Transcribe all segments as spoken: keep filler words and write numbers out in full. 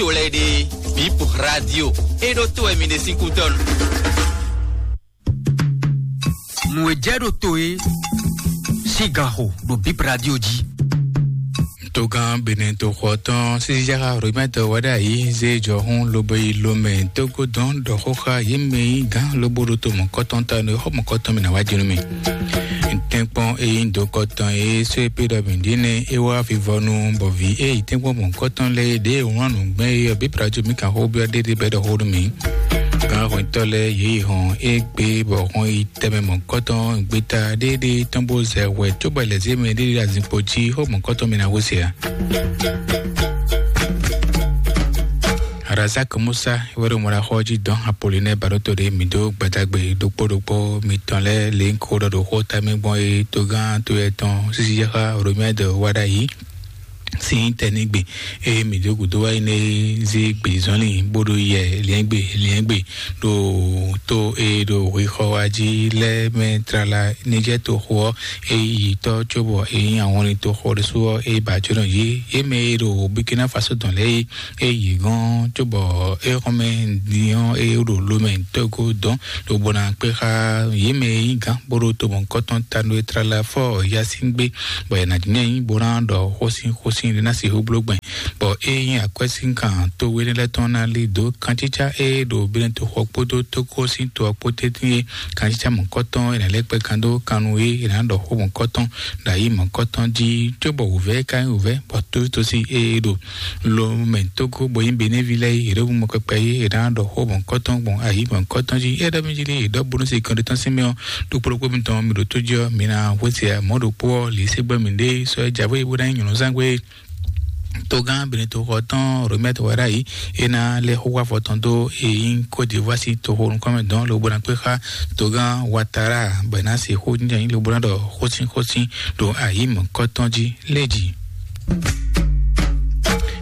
to lɛ́ɛ ɖe, Bip Radio, é ɖó to wɛ mi ɖe sín kútɔ́nu. Nǔ e jɛ ɖo to é sín gan xo ɖo Bip Radio jí. Togán Benin toxo tɔn Sisijaxa Roberto Wadayi zé jɔhún lobo yi lomɛ tógó dɔn ɖɔ xó xá yě mɛ yí gán lobo ɖo to mɔ̌kɔtɔn ta nú xɔ mɔ̌kɔtɔn mɛ ná wá jínú mɛ. Tɛ́nkpɔ́n e nyí dokɔtɔn e sɔ́ é pé ɖɔ mǐ ɖíe nɛ́ é wá vivɔnu bɔ vǐ e yi tɛ́nkpɔ́n mɔ̌kɔtɔn lɛ́ɛ ɖě e wlán nǔgbɛ́ é ɔ́ bí Plato mǐ kan xó byɔ́ ɖéɖé bɔ é ɖɔ xó nú mǐ. Gǎn hwɛntɔ́ lɛ́ɛ yě yi hɔn égbé bɔ hɔn yi tɛnmɛ mɔ̌kɔtɔn gbeta ɖéɖé tɔn bó zɛ hwɛ cóbɔ lɛ̌zémɛ ɖéɖé azinkpo jí xó mɔ̌kɔtɔn mɛ ná hwesɛ ǎ. Razak Musa wɛ ɖo mɔɖaxɔ jí dɔn Apolinɛ Baɖoto ɖe mǐ dó gbadagbe ɖokpó ɖokpó mitɔn lɛ́ɛ lě ko ɖɔ ɖo xó tamɛ gbɔn e togán to yɛtɔn sísí yɛxá Romɛd wá ɖ'ayǐ. Sín tɛnigbe eye mǐ dó gǔdo wá yi nɛ zé gbězɔnlin bó ɖo yɛ liɛ́ngbe liɛ́ngbe ɖo tó e ɖo hwexɔ wá jí lɛ́ɛ mɛ tlala ní jɛ toxo ɔ́, e yi tɔ́ cóbɔ e nyí ahɔnlin toxo ɖésú ɔ́, e ba jǒnɔ yě. Yě mɛ e ɖo Burkina Faso dɔn lɛ́ɛ é, e yi gɔ́n cóbɔ é xɔmɛ din ɔ́, e ɖo lomɛ tɔ́go dɔn ɖo bó ná kpé xá yě mɛ e nyí gǎn bó ɖo to mɔ̌hunkɔtɔn ta nú é tlala fɔ Yasin gbé, bɔ è nǎ jínjɔ́n ayǐ bó ná ɖɔ xósin xósin ɖé ná sixú bló gbɛn, bɔ é nyí akwɛ́sínkan to énɛ́ lɛ́ɛ tɔn ná lí dǒ kancícá e ɖo Benɛtoxɔ kpódó Tógó sín to ɔ́ kpó tɛ́ntin é. Kancícá mɔ̌kɔtɔn è nǎ lɛ́ kpɛ́ kan dó kan nú é, è nǎ ɖɔ xó mɔ̌kɔtɔn ɖo ayǐ mɔ̌kɔtɔn jí, cóbɔ wǔvɛ́ ka nyí wǔvɛ́, bɔ tóvítósi e ɖo lomɛ tógó bɔ nyí Benɛ́ví lɛ́ɛ é, yě ɖo mɔ kpɛkpɛ é, è nǎ ɖɔ xó mɔ̌kɔtɔn gbɔn ayǐ mɔ̌kɔtɔn jí. É ɖɔ mí jí lé, è ɖɔ bónú se kɔn ɖé tɔn sín mɛ ɔ́, ɖokpó ɖokpó mitɔn mi ɖo tó jí ɔ́, mi ná hwesɛ mɔ̌ ɖokpó ɔ́, lǐ se gbɛ́ mǐ ɖé sɔ́ é jǎwe bó ná nyí nyɔ̌nu zán gbé. Togán Benɛtoxɔ tɔn Romɛt Wadayi é ná lɛ́ xó wá afɔ tɔn dó e nyí Côte d'Ivoire sín toxo nukɔn mɛ dɔn lobo ná kpé xá togán Ouattara bɔ é ná se xó nyanya nyí lobo ná ɖɔ xósin xósin ɖo ayǐ mɔ̌kɔtɔn jí lé jí.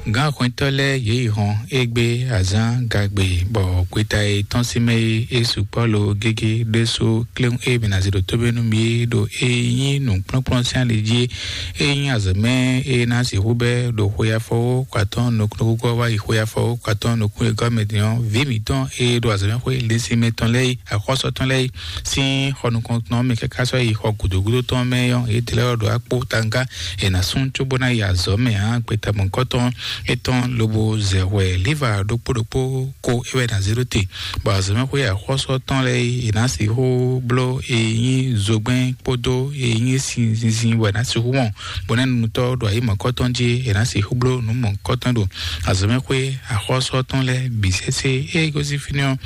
Gǎn hwɛntɔ́ lɛ́ɛ yě yi hɔn égbé azǎn gagbe bɔ gbeta e tɔ́n sín mɛ é, é sukpɔ́ lo gégé ɖésú kléwún e mǐ ná zé ɖo tóbé nú mì é ɖo e nyí nǔkplɔ́nkplɔ́n sín ali jí é. É nyí azɔ̌ mɛ e ná sixú bɛ́ ɖo xwe afɔwó kɔ atɔ́ɔ́n nukúnnú gúgɔ́ wá yi xwe afɔwó kɔ atɔ́ɔ́n nukún e gɔ́ mɛ din ɔ́, vǐ mǐtɔn e ɖo azɔ̌mɛxwé linsin mɛ tɔn lɛ́ɛ yi, axɔ́sɔ tɔn lɛ́ɛ yi sín xɔ nukɔntɔn mɛ káká sɔ́ yi xɔ gǔdo gúdo tɔn mɛ ɔ́, yě dlɛ́ ɔ́ ɖo akpó tanga è nǎ sún cóbó ná yi azɔ̌ mɛ ǎ. Gbeta mɔ̌hunkɔtɔn étɔn lobo zɛ hwɛ líva ɖokpó ɖokpó ko é wɛ è nǎ zé ɖó te, bɔ azɔ̌mɛxwé axɔ́sɔ tɔn lɛ́ɛ yi è nǎ sixú bló e nyí zogbɛ́n kpódó e nyí sin zinzin wɛ è nǎ sixú wɔn, bɔ nɛ́ nunutɔ́ ɖo ayǐ mɔ̌kɔtɔn jí è nǎ sixú bló nǔ mɔ̌kɔtɔn ɖo azɔ̌mɛxwé axɔ́sɔ tɔn lɛ́ɛ bǐ sésé. Ée gosín fínɛ́ ɔ́,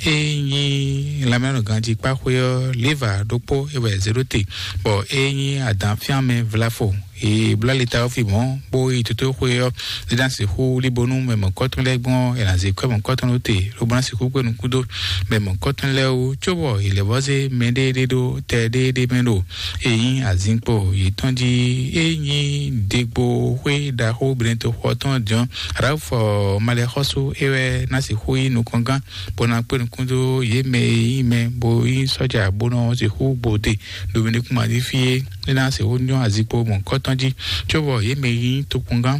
é nyí lanmɛnɔganjíkpáxwé ɔ́, léva ɖokpó é wɛ è zě ɖó te, bɔ é nyí adǎnfyánmɛ vlafo. È bló ali ta ɔ́ fi mɔ̌, bó yi tótóxwe ɔ́, é ná sixú líbónú mɛ mɔ̌kɔtɔn lɛ́ɛ gbɔn ɔ́, è nǎ zé kwɛ́ mɔ̌kɔtɔn ɖó te, lobo ná sixú kpé nukún dó mɛ mɔ̌kɔtɔn lɛ́ɛ wú, cóbɔ è lɛ̌ vɔ́ zé mɛɖéeɖé ɖó tɛ ɖéeɖé mɛ ɖo e nyí azinkpo yětɔn jí. É nyí degbo xwé ɖaxó Benɛtoxɔ tɔn jɔn, Ralfu Malɛxɔ́sú é wɛ ná sixú nyí nukɔngán, bó ná kpé nukún dó yě mɛ e nyí mɛ bó nyí sɔ́ja bó nɔ sixú gbode ɖo Benɛkúmají fí é. É ná sixú nyɔ́ azinkpo mɔ̌kɔtɔn jí, cóbɔ yě mɛ e nyí tokpɔngán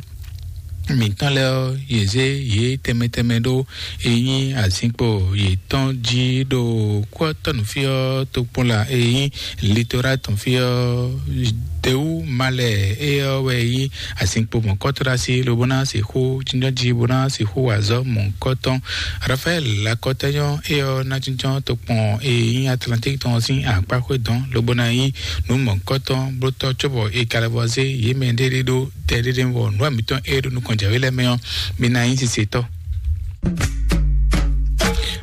mǐtɔn lɛ́ɛ ɔ́, yě zé yě tɛnmɛ tɛnmɛ ɖó e nyí azinkpo yětɔn jí ɖo kútɔ́nú fí ɔ́, tokpɔnla e nyí Litora tɔn fí ɔ́, Dewu Malɛ é ɔ́ wɛ nyí azinkpo mɔ̌kɔtɔ́ ɖo así, lobo ná sixú jínjɔ́n jí, bó ná sixú wa azɔ̌ mɔ̌kɔtɔn. Rafaɛl Lakɔtɛnyɔ é ɔ́ ná jínjɔ́n tokpɔn e nyí Atlantík tɔn sín akpáxwé dɔn, lobo ná nyí nǔ mɔ̌kɔtɔn blótɔ́ cóbɔ è ka lɛ́ vɔ́ zé yě mɛ ɖéɖé ɖó tɛ ɖéɖé wɔ nǔ wa mǐtɔn e ɖo nukɔn jǎwe lɛ́ɛ mɛ ɔ́, mi ná nyí sisetɔ́.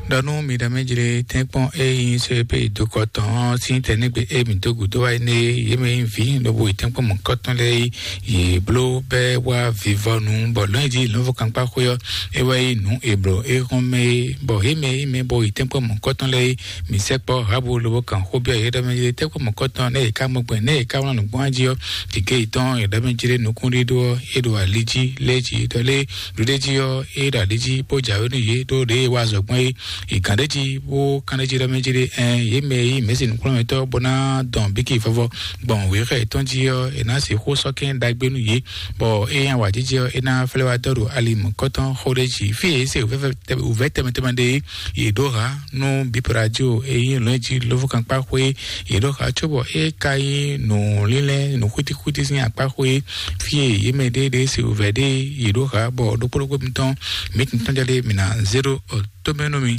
Ɖɔ nú mi ɖɔ mɛ jlé tɛ́nkpɔ́n e nyí sɔ́ e pé dokɔ tɔn ɔ́ sín tɛ̌nɛ́gbe e mǐ dó gǔdo wá énɛ́ é, yě mɛ nyí vǐ lobo yi tɛ́nkpɔ́n mɔ̌kɔtɔn lɛ́ɛ é, yě bló bɛ́ wá vivɔnu, bɔ lɔ̌nyijǐ lɔ̌nfɔkankpáxwé ɔ́, é wɛ nyí nǔ è blǒ é hɔn mɛ é, bɔ yě mɛ e nyí mɛ bo yi tɛ́nkpɔ́n mɔ̌kɔtɔn lɛ́ɛ é, mǐ sɛkpɔ́ Rahabu lobo kan xó byɔ́ yě ɖɔ mɛ jlé tɛ́nkpɔ́n mɔ̌kɔtɔn nɛ́ è ká mɔ gbɛn nɛ́ è ká wlán nǔ gbɔn jí ɔ́, gěgé yětɔn è ɖɔ mɛ jlé nukúnɖíɖó ɔ́, é ɖo ali jí lɛ́ɛ jí ɖɔ lé ɖuɖéjí ɔ́, é ɖo ali jí bó jǎwe nú yě ɖó ɖěe é wá azɔ̌ gbɔn é. Ìgǎn ɖé jí bó kán ɖé jí ɖɔ mɛ jí ɖé, ɛn yě mɛ e nyí mɛ̌si nǔkplɔ́nmɛtɔ́ bó ná dɔn bíkì vɔvɔ gbɔn wěxɛ yětɔn jí ɔ́, è nǎ sixú sɔ́ kɛ́n ɖagbe nú yě, bɔ é nyí awǎjijɛ ɔ́, é ná flɛ́ wá dɔ́ ɖo ali mɔ̌kɔtɔn xó ɖé jí. Fí e yě se wǔvɛ́ tɛnmɛ tɛnmɛ ɖe é, yě ɖó hǎ nú bǐ radio e nyí lɔ̌nyijǐ lóvúkankpáxwé. Yě ɖó hǎ cóbɔ é ka nyí nǔlínlɛ́ nǔxwítíxwítí sín akpáxwé. Fí e yě mɛ ɖéeɖée se wǔvɛ́ ɖe yě ɖó hǎ, bɔ ɖokpó ɖokpó mitɔn mǐ tɔn jɔ ɖe mǐ ná zé ɖó tomɛ nú mi.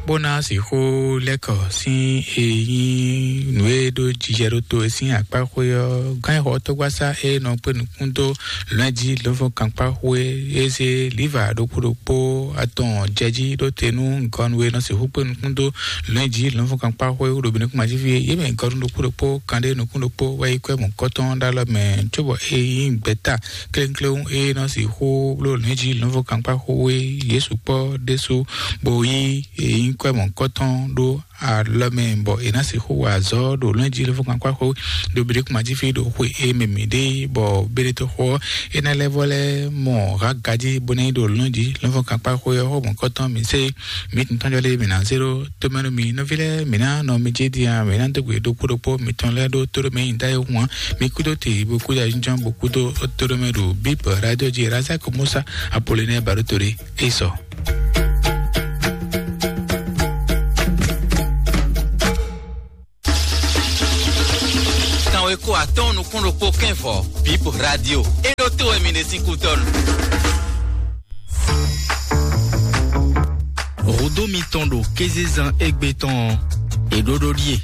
Bó ná sixú lɛ́kɔ sín e nyí nǔ e ɖó jijɛ ɖó to e sín akpáxwé ɔ́, gán e xɔ tɔ́gbásá e nɔ kpé nukún dó lɔ̌nyijǐ lɔ̌nfɔ́n kankpáxwé e zé liva ɖokpó ɖokpó atɔn jɛ jí ɖó te nú gɔnu e nɔ sixú kpé nukún dó lɔ̌nyijǐ lɔ̌nfɔ́n kankpáxwé ɖo Benin kúmajíví e yě mɛ gɔnu ɖokpó ɖokpó kanɖé nukún ɖokpó wɛ yi kwɛ́ mɔ̌kɔtɔn ɖó alɔ mɛ, cóbɔ e nyí gbɛ̌ta kléwúnkléwún e nɔ sixú bló lɔ̌nyijǐ lɔ̌nfɔ́n kankpáxwé Yesu kpɔ́ ɖésú, bó yí e nyí kwɛ́ mɔ̌kɔtɔn ɖó alɔ mɛ, bɔ è nǎ sixú wa azɔ̌ ɖo lɔ̌nyijǐ lɔ̌nfɔ́n kankpáxwé ɖo Benin kúmajíví ɖo xwe e mɛ mǐ ɖe, bɔ Benin toxo ɔ́, é ná lɛ́ vɔ lɛ́ mɔ hǎ gají bó ná yi ɖo lɔ̌nyijǐ lɔ̌nfɔ́n kankpáxwé ɔ́ xó mɔ̌kɔtɔn mǐ se mǐ tɔn jɔ lé mǐ ná zé ɖó tomɛ nú mi. Nɔví lɛ́ɛ, mǐ ná nɔ mi jí din a, mǐ ná dó gbe ɖokpó ɖokpó mitɔn lɛ́ɛ ɖó tóɖomɛ nyi da e hwan mi kúdó te bó kúdó ayǐjínjɔ́n bó kúdó tóɖomɛ ɖo bíbɔ radio jí Razak Musa Apollinaire Baɖótole é sɔ. Kanweko atɔ́ɔ́n nukún ɖokpó kɛ́n vɔ bíbɔ radio é ɖó tó wɛ mi ɖe sín kútɔ́nu. Hǔdó mitɔn ɖo kézezán égbé tɔn ɔ́, è ɖó ɖó ɖíe.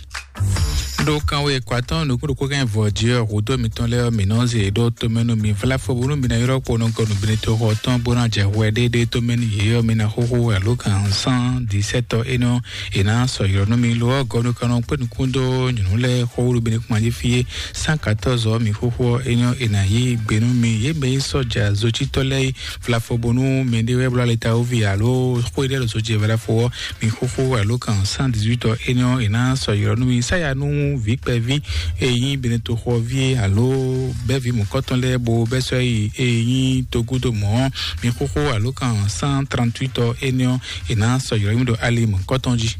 Ɖo kanwe kwatɔ́n nukún ɖokpó kɛ́n vɔ jí ɔ́, hǔdó mitɔn lɛ́ɛ ɔ́, mǐ nɔ zé ɖó tomɛ nú mi vlafo bónú mi ná ylɔ́ kpo nukɔn nú Benin toxo ɔ́ tɔn bó ná jɛ hwɛ ɖéɖé tomɛ nú yě ɔ́, mi ná xóxó alo kan cent dix-sept ɔ́, énɛ́ ɔ́, è nǎ sɔ́ ylɔ́ nú mi. Lo ɔ́, gɔnu kan nɔ kpé nukún dó nyɔ̌nu lɛ́ɛ xó wú ɖo Benin kúmají fí é cent quatorze ɔ́, mi xóxó ɔ́, énɛ́ ɔ́, è nǎ yí gbe nú mi. Yě mɛ e nyí sɔ́ja zocítɔ́ lɛ́ɛ é vlafo bónú mɛɖé wɛ bló alitawoví alo xó e ɖɔ ɖo zojɛ vlafo ɔ́, mi xóxó alo kan cent dix-huit ɔ́, énɛ́ ɔ́, è nǎ sɔ́ ylɔ́ nú mi. Sáya nú vǐ kpɛví e nyí Benin toxoví alo bɛ́ví mɔ̌kɔtɔn lɛ́ɛ bo bɛ́ sɔ́ yi e nyí togúdo mɔ̌ ɔ́, mi xóxó alo kan cent trente-huit ɔ́, énɛ́ ɔ́, è nǎ sɔ́ ylɔ́ nú mi ɖo ali mɔ̌kɔtɔn jí.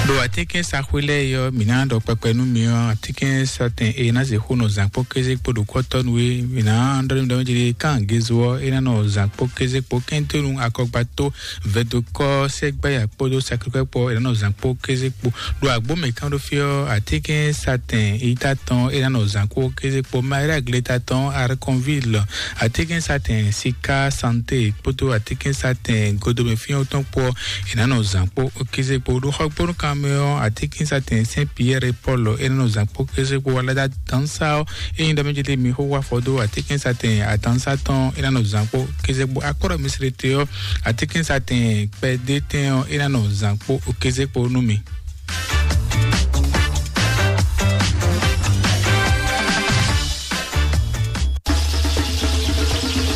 Ɖo atínkɛ́nsaxwé lɛ́ɛ é ɔ́, mǐ ná ɖɔ kpɛkpɛ nú mi ɔ́, atínkɛ́nsatɛn e ná sixú nɔ zǎn kpó kéze kpó ɖo kɔ́tɔ́nu é, mǐ ná ɖɔ nú mi ɖɔ mɛ jí ɖé kan gezo ɔ́, é ná nɔ zǎn kpó kéze kpó kɛ́ntɔ́nu akɔgbató vɛdokɔ́ sɛgbɛ́ya kpódó sakrikpɛ́ kpó é ná nɔ zǎn kpó kéze kpó. Ɖo agbǒ mǐ kán ɖó fí ɔ́, atínkɛ́nsatɛn yítá tɔn é ná nɔ zǎn kpó kéze kpó. Maria gleta tɔn Arkonvil, atínkɛ́nsatɛn sika santé kpódó atínkɛ́nsatɛn godomɛ fínyɔ́ tɔn kpó ɔ́, è nǎ nɔ zǎn kpó kéze kpó. Ɖo xɔgbónúkan mɛ ɔ́, atínkɛ́nsatɛn Saint Pierre Paul é nɔ zǎn kpó kéze kpó. Alada dansa ɔ́, é nyí ɖɔ mɛ jɛtɛ mi xó wá fɔ dó atínkɛ́nsatɛn adansa tɔn é ná nɔ zǎn kpó kéze kpó. Akɔ́ɖɔ mi srete ɔ́, atínkɛ́nsatɛn kpɛdétɛn ɔ́, é ná nɔ zǎn kpó kéze kpó nú mi.